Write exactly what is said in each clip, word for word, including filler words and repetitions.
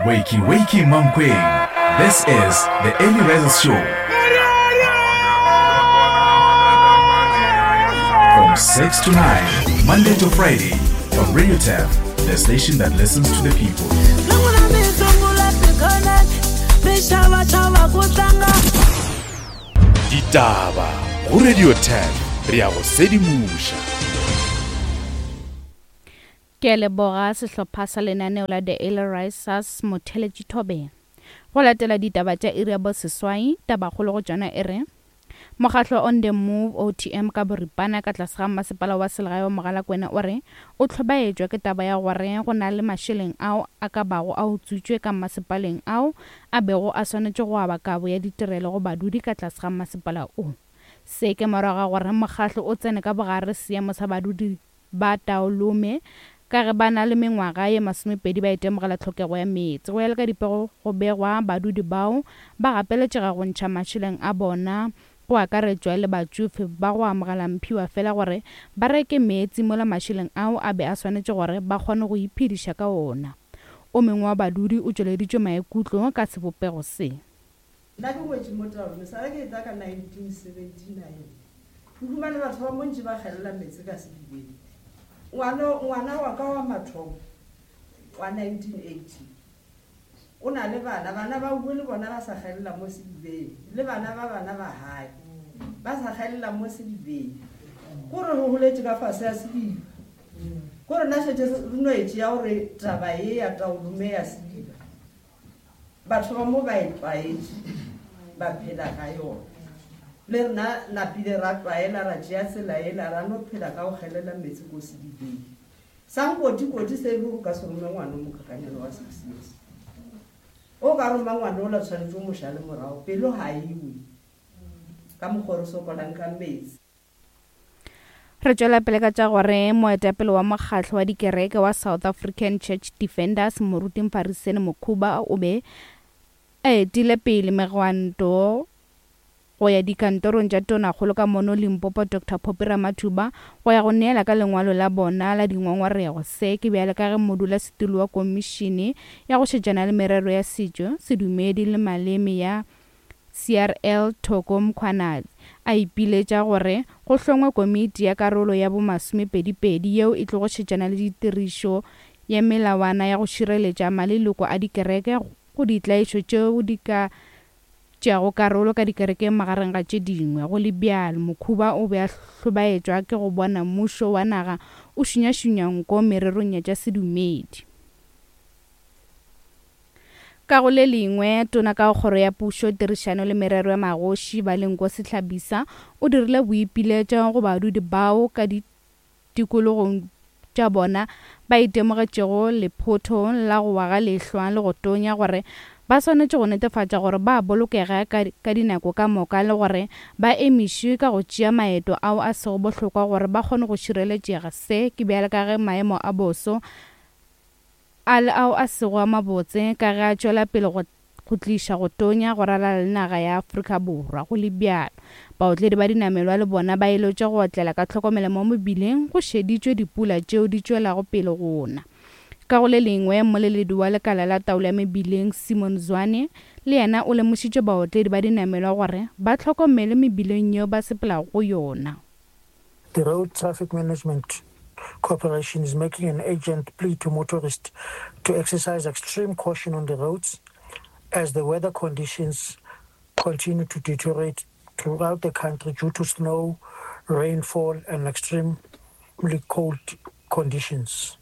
Wakey, wakey, Mankweng. This is the Early Risers Show. From six to nine, Monday to Friday, on Radio T E F, the station that listens to the people. Loko mi sungula tikhonani mi xavaxava ku tlanga. Ditaba go Radio ten, re ya go sedimoša. Ke a leboga sehlopha sa lenaneo la The Early Risers motheletši thobeng. Go latela ditaba tša iri ya boseswai, tabakgolo go tšona e re mokgahlo On The Move O T M ka boripana ka tlase ga masepala wa selegae wa Mogalakwena o re o hlobaetšwa ke taba ya gore go na le mašeleng ao a ka bago a utswitšwe ka masepaleng ao a bego a swanetše go aba kabo ya ditirelo go badudi ka tlase ga masepala o. Se ke morago ga gore mokgahlo o tsene ka bogare seemo sa badudi ba Taolome ka ge ba na le mengwaga ye masomepedi ba itemogela tlhokego ya meetse. Go ya le ka dipego go begwa badudi bao ba gapeletšega go ntšha mašeleng a bona, go akaretšwa le batšofe ba go amogela mphiwa fela, gore ba reke meetse mola mašeleng ao a be a swanetše gore ba kgone go iphediša ka ona. O mongwe wa badudi o tšweleditše maikutlo ka sebopego se. Nna ke wetse mo Taolome sale ke etla ka nineteen seventy-nine. Ke humane batho ba montši ba gelela meetse ka sedibeng. Ngwana ngwana wa ka wa mathomo wa nineteen eighty o na le bana, bana ba bue le bona ba sa gelela mo sedibeng, le bana ba bana ba gae ba sa gelela mo sedibeng. Kore re goletse ka fase ya sediba, kore nna šetse re no e tšea gore taba ye ya Taolome ya sediba batho ba mo ba e tlwaetše, ba phela ka yona. Le rena napile ra tlwaela, ra tšea tsela ela, ra no phela ka go gelela metsi ko sedibeng sa nkotikoti. Se e le go ka se rome ngwana o mokakanyana wa six years, o ka roma ngwana o la tshwanetse o mošale morago, pelo ga iwe ka mokgwa re sokolang ka metsi. Re tšwela pele ka tša gore moetapele wa mokgahlo wa dikereke wa South African Church Defenders, moruti Mfariseni Mokhuba, o be a etile pele megwanto go ya dikantorong tša tonakgolo ka mono Limpopo, Doctor Phophi Ramathuba, go ya go neela ka lengwalo la bona la dingongorego. Se ke bjale ka ge modulasetulo wa komišene ya go šetšana le merero ya setšo, sedumedi le maleme ya C R L, Thoko Mkhwanazi, a ipiletša gore go hlongwe komiti ya karolo ya bomasomepedipedi yeo e tlogo šetšana le ditirišo ya melawana ya go šireletša maleloko a dikereke go ditlaišo tšeo di ka tšeago karolo ka dikerekeng, magareng ga tše dingwe. Go le bjalo, Mokhuba o be a hlobaetšwa ke go bona mmušo wa naga o šunyašunya nko mererong ya tša sedumedi. Ka go le lengwe, tona ka kgoro ya pušo, tirišano le merero ya magoši, Balenkosi Hlabisa, o dirile boipiletšo go badudi bao ka ditikologong tša bona ba itemogetšego lephotho la go wa ga lehlwa le go tonya gore ba swanetše go netefatša gore ba bolokega ka, ka dinako ka moka le gore ba emišwe ka go tšea maeto ao a sego bohlokwa gore ba kgone go šireletšega. Se ke bjale ka ge maemo a boso a le ao a sego a mabotse ka ge a tšwela pele go go tliša go tonya go ralala le naga ya Afrika Borwa. Go le bjalo, baotledi ba dinamelwa le bona ba eletšwa go otlela ka tlhokomelo mo mebileng go šeditšwe dipula tšeo di tšwelago pele go na. Ka go le lengwe, mmoleledi wa lekala la taolo ya mebileng, Simon Zwane, le yena o lemošitše baotledi ba dinamelwa gore ba hlokomele mebileng yeo ba sepelago go yona. The Road Traffic Management Corporation is making an urgent plea to motorists to exercise extreme caution on the roads as the weather conditions continue to deteriorate throughout the country due to snow, rainfall, and extremely cold conditions.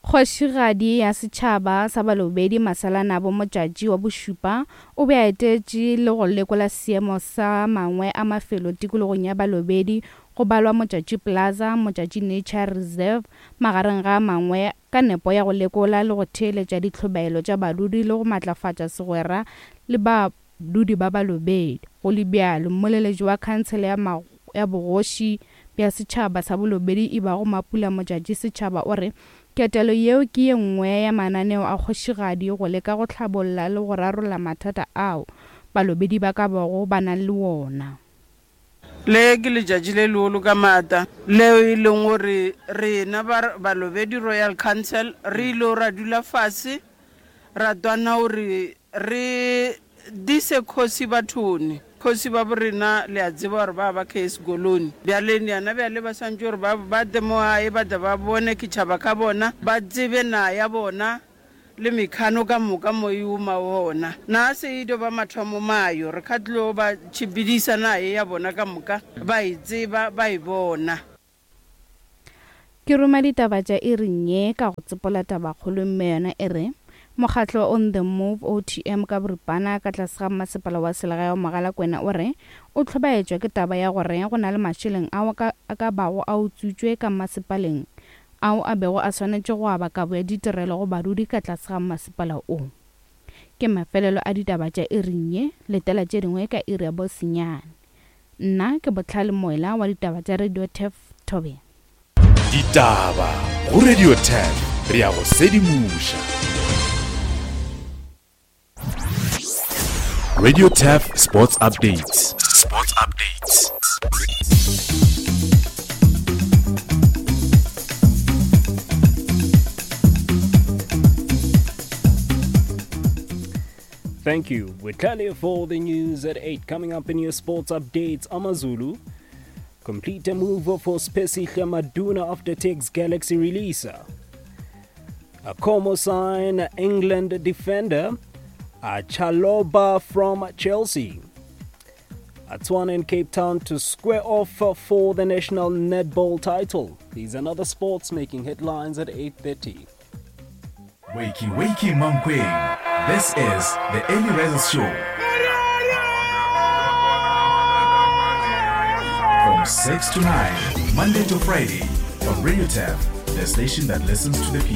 Kgošigadi ya setšhaba sa Balobedi, Masalanabo Modjadji wa bošupa, o be a etetše le go lekola seemo sa mangwe a mafelo tikologong ya Balobedi, go balwa Modjadji Plaza, Modjadji Nature Reserve magareng ga a mangwe, ka nepo ya go lekola le go theeletša ditlhobaelo tša badudi le go matlafatša segwera le badudi ba Balobedi. Go le bjalo, mmoleletši wa khansele ya, ya bogoši bja setšhaba sa Bolobedi e bago Mapula Modjadji Setšhaba o re ketelo yeo ke ye nngwe ya mananeo a kgošigadi go leka go hlabolla le go rarolla mathata ao Balobedi ba ka bago ba na le wona. Le ke letšatši le legolo ka maata leo e leng gore rena Balobedu Royal Council re ile ra dula fase ra twana gore re dise kgosi bathone. Kgosi ba borena le a tseba gore ba ba case goloni. Bjale yana bjale ba swantše gore ba ba tle mo gae ba tle ba bone ketšhaba ka bona, ba tsebe na ya bona le mekhano ka moka mo e uma gona. Na se e dio ba mathomo mayo re ka tlo ba tšhipidisa naye ya bona ka moka ba e tseba ba e bona. Ke roma ditaba tša iring ye ka go tsepola tabakgolo mme yona e re mokgatlo On The Move O T M ka boripana ka tlase ga mmasepala wa selegae wa Mogalakwena o re o hlobaetšwa ke taba ya gore go na le mašeleng ao a ka bago a utswitšwe ka mmasepaleng ao a bego a swanetše go aba kabo ya ditirelo go badudi ka tlase ga mmasepala o. Ke mafelelo a ditaba tša iring ye, letela tše dingwe ka iri ya bosenyane. Nna ke Botlhale Moela wa ditaba tša Radio Turf Thobela. Ditaba go Radio Turf, re ya go sedimoša. Radio Turf Sports Updates. Sports Updates. Thank you. Botlhale for the news at eight. Coming up in your sports updates, AmaZulu complete a move for Siphesihle Maduna after takes Galaxy release. A Como sign England defender a Chalobah from Chelsea. Atswana in Cape Town to square off for the national netball title. These and other sports making headlines at eight thirty. Wakey, wakey, Mankweng. This is the Early Risers Show. From six to nine, Monday to Friday, on Radio Turf, the station that listens to the people.